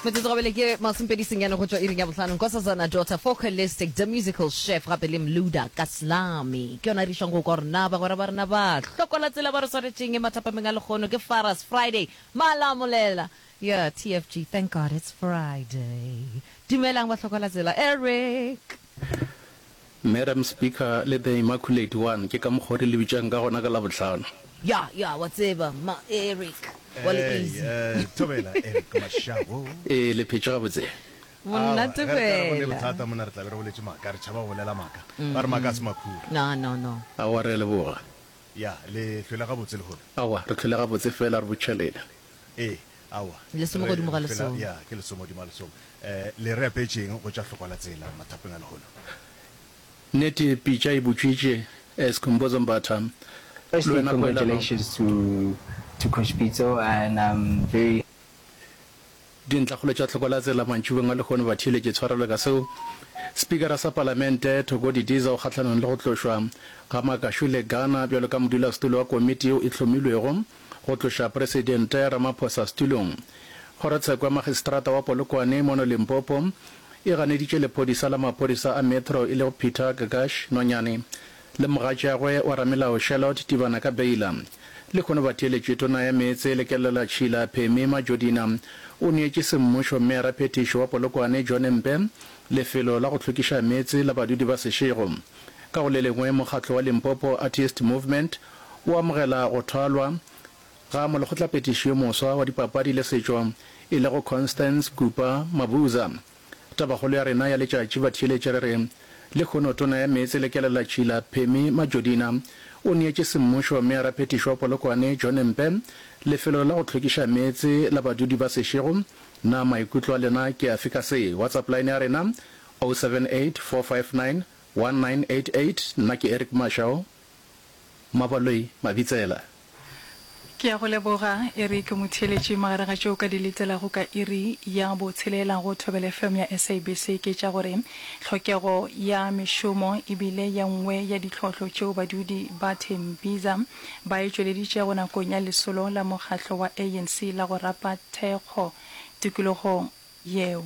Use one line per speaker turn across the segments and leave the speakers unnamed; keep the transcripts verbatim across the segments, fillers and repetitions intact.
Metsotso gabele ke masomepedi senyane go tšwa iring ya bohlano. Nkosazana Daughter, Focalistic, The Musical Chef gape le Mluda Kaslami. Ke yona e re išang go kwa gore na bagwera ba rena ba hlokola tsela ba re swanetšeng e mathapameng a lekgono ke Faras Friday Malamolela. Yeah, T F G, thank God it's Friday. Dumelang ba hlokola tsela. Eric.
Madam Speaker le The Immaculate One, ke ka mokgwa o re le bitšang ka gona ka Labohlano.
Ya, ya, wa tseba, ma Eric, wa le
Hey,
easy.
eh, thobela Eric Mashau.
Ee, le phetše gabotse?
Aowa,
Monate
ge re ka re go ne
fela.
bothata mona re tla be re boletše maaka, re tšhaba go bolela maaka. Ba re maaka a se makhura.
No, no, no.
Aowa, re a leboga.
Ya, le hlwele gabotse lehono.
Aowa, re hlwele gabotse fela re botšhelela.
Ee, aowa,
Lesome
re
godimo
re
ga
hlwela,
lesome.
ya, ke lesome godimo ga lesome. Eh, le re apeetšeng go tša hlokwa la tsela mathapeng a lehono?
Nnete pitša e butšwitše, Skhumbuzo Mbatha, le
Firstly,
wena Poelano.
congratulations to to Coach Pitso and I'm very
Dintlhakgolo tša tlhoko la tsela mantšibong a lehono batheeletši tshwarelo ka seo. Spikara sa Palamente Thoko Didiza o kgahlanong le go tlošwa ga Makashule Gana bjalo ka modulasetulo wa komiti yeo e hlomilwego go tloša Presidente Ramaphosa setulong. Kgorotsheko ya Magistrata wa Polokwane mono Limpopo e ganeditše lephodisa la maphodisa a Metro e lego Peter Gagash Nonyane le mogatšagwe wa ramelao Charlotte Tibana ka beila. Lehono batheeletši Tona ya Meetse le Kelelatšhila Phemi Majodina o neetše semmušo Meyara-phethiši wa Polokwane John Mpe lefelo la go hlwekiša meetse la badudi ba Seshego. Ka go le lengwe mokgatlo wa Limpopo Artist Movement o amogela go thwalwa ga molekgotlaphethiši yo moswa wa dipapadi le setšo e lego Constance Kupa Mabuza. Tabakgolo ya rena ya letšatši batheeletši re re lehono Tona ya Meetse le Kelelatšhila Phemi Majodina o neetše semmušo Meyara-phethiši wa Polokwane John Mpe lefelo la go hlwekiša meetse la badudi ba Seshego. Na maikutlo a lena ke afe ka se? WhatsApp line ya rena oh seven eight four five nine one nine eight eight Nna ke Eric Mashau Mabaloi Mabitsela.
Ke a go leboga, Eric Motheeletši. Magareng ga tšeo o ka di letelago ka iri ya botshelela go Thobela F M ya S A B C ke tša gore tlhokego ya mešomo e bile ye nngwe ya ditlhohlo tšeo badudi ba Tembisa ba e tšweleditšego nakong ya lesolo la mokgatlo wa A N C la go rapa thekgo tikologong yeo.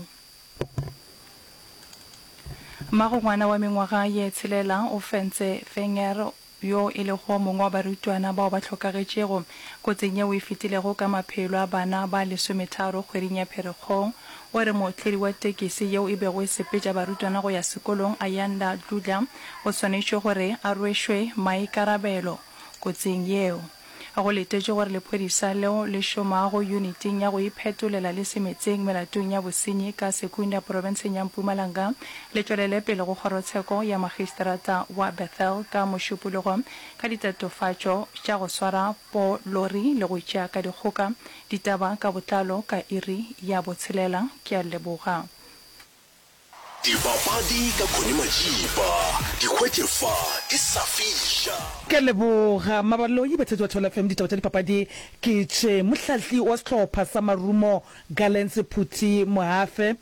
Mmagongwana wa mengwaga ye tshelela o fentse Wenger yo e lego mongwe wa barutwana bao ba hlokagetšego kotsing yeo e fetilego ka maphelo a bana ba lesometharo kgweding ya Pherekgong. O re mootledi wa tekisi yeo e bego e sepetša barutwana go ya sekolong Ayanda Dludla o swanetšwe gore a rwešwe maikarabelo kotsing yeo. Go letetšwe gore lephodisa leo le šomago yuniting ya go iphetolela le semetseng melatong ya bosenyi ka Secunda profenseng ya Mpumalanga le tšwelele pele go kgorotsheko ya magistrata wa Bethel ka Mošupologo ka ditatofatšo tša go swara po lori le go tšea ka dikgoka. Ditaba ka botlalo ka iri ya botshelela. Ke a leboga.
Dipapadi ka Connie Majiba, di hwetše fa di sa fiša.
Ke a leboga Mabaloi, batheetši ba Thobela F M, ditaba tša dipapadi ke tše. Mohlahli wa sehlopha sa Marumo Gallants Phuthi Mohafe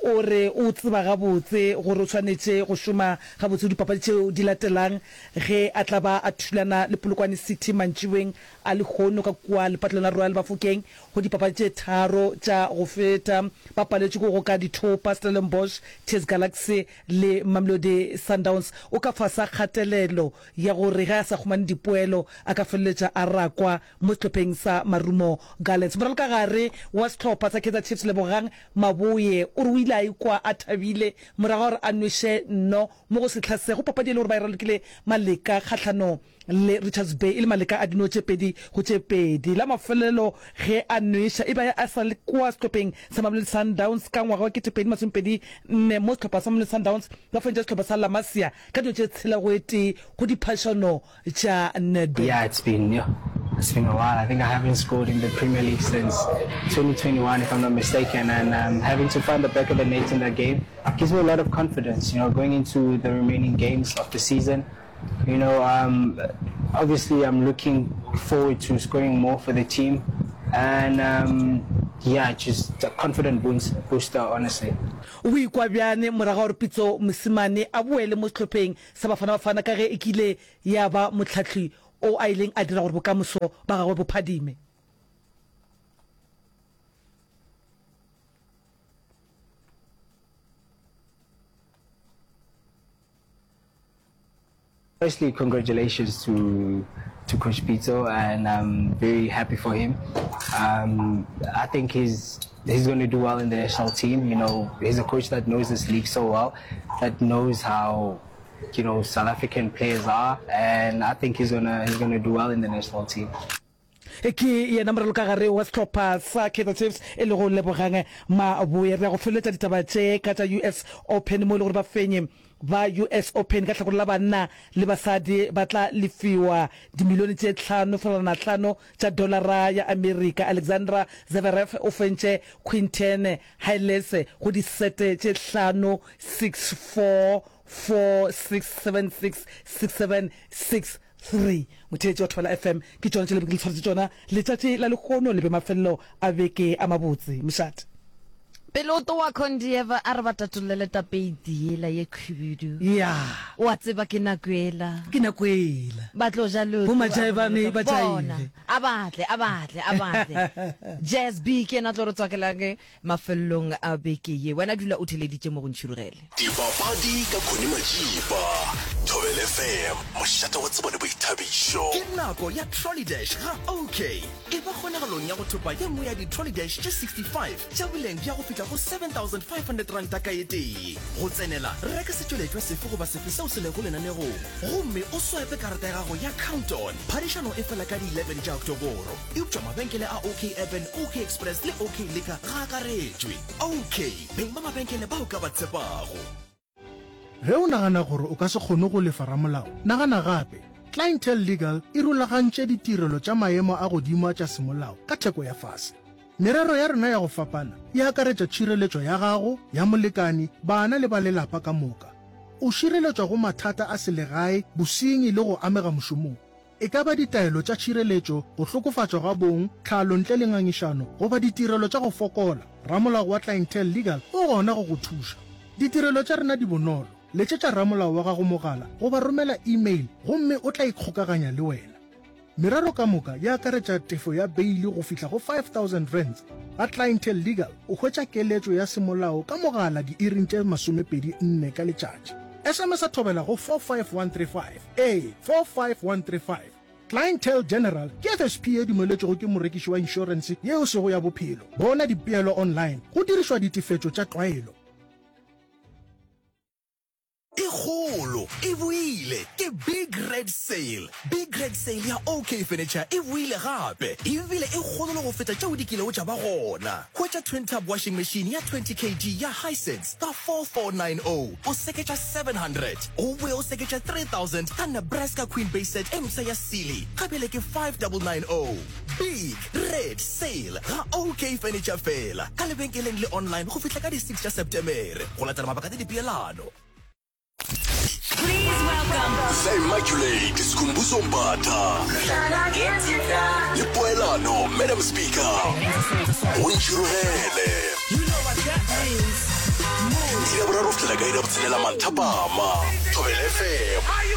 o re o tseba gabotse gore o swanetše go šoma gabotse go dipapadi tšeo di latelang ge a tla ba a thulana le Polokwane City mantšiboeng a lehono ka kua lepatlelong la Royal Bafokeng. Go dipapadi tše tharo tša go feta ba paletšwe ke go ka dithopa Stellenbosch, T S Galaxy le Mamelodi Sundowns. O ka fasa kgatelelo ya gore ge a sa humane dipoelo a ka feleletša a rakwa mo sehlopheng sa Marumo Gallants. Moralokagare wa sehlopha sa Kaizer Chiefs Lebogang Maboe o re o ile a ikwa a thabile morago ga gore a nweše nno mo go sehla se go papadi e le gore ba e ralokile Maleka kgahlanong le Richards Bay e le Maleka a dino tše pedi go tše pedi. La mafelelo ge a nweša e be a sa le kua sehlopheng sa Mamelodi Sundowns ka ngwaga wa kete pedi masomepedi nne mo sehlopha sa Mamelodi Sundowns ba fentše sehlopha sa La Masia ka dino tše tshela go e tee go diphašano tša Nedbank.
Yeah, it's been, yeah, it's been a while. I think I haven't scored in the Premier League since twenty twenty-one, if I'm not mistaken, and um, having to find the back of the net in that game gives me a lot of confidence, you know, going into the remaining games of the season. You know, um, obviously I'm looking forward to scoring more for the team, and um, yeah, just a confident boost, booster, honestly.
O ikwa bjane morago ga gore Pitso Mosimane a boele mo sehlopheng sa Bafana Bafana ka ge e kile ya ba mohlahli o a ileng a dira gore bokamoso ba gagwe bo phadime?
Firstly, congratulations to to Coach Pitso, and I'm very happy for him. Um, I think he's he's going to do well in the national team. You know, he's a coach that knows this league so well, that knows how you know South African players are, and I think he's gonna he's gonna do well in the national team.
Ke yena moralokagare wa sehlopha sa Kaizer Chiefs e lego Lebogang Maboe. Re ya go feleletša ditaba tše ka tša U S Open mo e le gore bafenyi ba U S Open ka hlakore la banna le basadi ba tla lefiwa dimilione tše hlano fegelwana hlano tša dolara ya Amerika. Alexander Zverev o fentše Quinten Hailes go disete tše hlano, six four, four six, seven six, six seven, six three. Motheetši wa Thobela F M, ke tšona tše le be ke le tshwaretše tšona letšatši la lehono. Le be mafelelo a beke a mabotse. Mošate.
Pele o towa Condieva a re ba tatollele tapeiti yela ye khwibidu.
Ya.
O a tseba ke nako yela.
Ke nako yela.
Ba tlo ja leoto.
Bo majaebane ba
Bona.
jaive.
A ba tle, a ba tle, a ba tle. Jazz B ke yena a tlo re tswakelang mafelelong a beke ye. Wena dula o theleditše mo go Ntšhirogele.
Dipapadi ka Connie Majiba, Thobela F M, mošate wa tsebo le boithabišo.
Ke nako ya Trolley Dash ga OK. Eba kgonagalong ya go thopa ye nngwe ya di-Trolley Dash tše sixty five tša boleng bja go fihla go seven thousand five hundred ranta ka e tee. Go tsenela, reka setšweletšwa sefe goba sefe seo se lego lenanegong gomme o swipe karata ya gago ya Count-On. Phadišano e fela ka di eleven tša Oktoboro, eupša mabenkele a OK Urban, OK Express le OK Liquor ga a akaretšwe. OK, beng ba mabenkele bao ka ba tshepago.
Ge o nagana gore o ka se kgone go lefa ramolao, nagana gape. Clientele Legal e rulagantše ditirelo tša maemo a godimo tša semolao ka theko ya fase. Merero ya rena ya go fapana e akaretša tšhireletšo ya gago, ya molekani, bana le ba lelapa ka moka. O šireletšwa go mathata a selegae, bosenyi le go amega mošomong. E ka ba ditaelo tša tšhireletšo, go hlokofatšwa ga bong, tlhalo ntle le ngangišano goba ditirelo tša go fokola, ramolao wa Clientele Legal o gona go go thuša. Ditirelo tša rena di bonolo. Letšetša ramolao wa gago mogala goba romela email gomme o tla ikgokaganya le wena. Merero ka moka e akaretša tefo ya beile go fihla go five thousand rands. Ga Clientele Legal o hwetša keletšo ya semolao ka mogala diiring tše masomepedi nne ka letšatši. S M S a Thobela go four five one three five. Ee, four five one three five. Clientele General ke F S P e dumeletšwego ke morekiši wa inšorense yeo sego ya bophelo. Bona dipeelo online go dirišwa ditefetšo tša tlwaelo.
E kgolo e boile, ke Big Red Sale. Big Red Sale ya OK Furniture e boile gape, ebile e kgolo le go feta tšeo di kilego tša ba gona. Hwetša twin tub washing machine ya twenty kilograms ya Hisense ka four four nine zero, o seketša seven hundred. O boe o seketša three thousand ka Nebraska Queen Base Set e mpsha ya Sealy, ga bjale ke five nine nine zero. Big Red Sale ga OK Furniture fela, ka lebenkeleng le online go fihla ka di six tša Septemere, go latela mabaka le dipeelano.
Please welcome
The Immaculate Skhumbuzo Mbatha le Poelano Madam Speaker go Ntšhirogele. Iri ya boraro go fihlela ka iri ya botshelela manthapama. Thobela F M.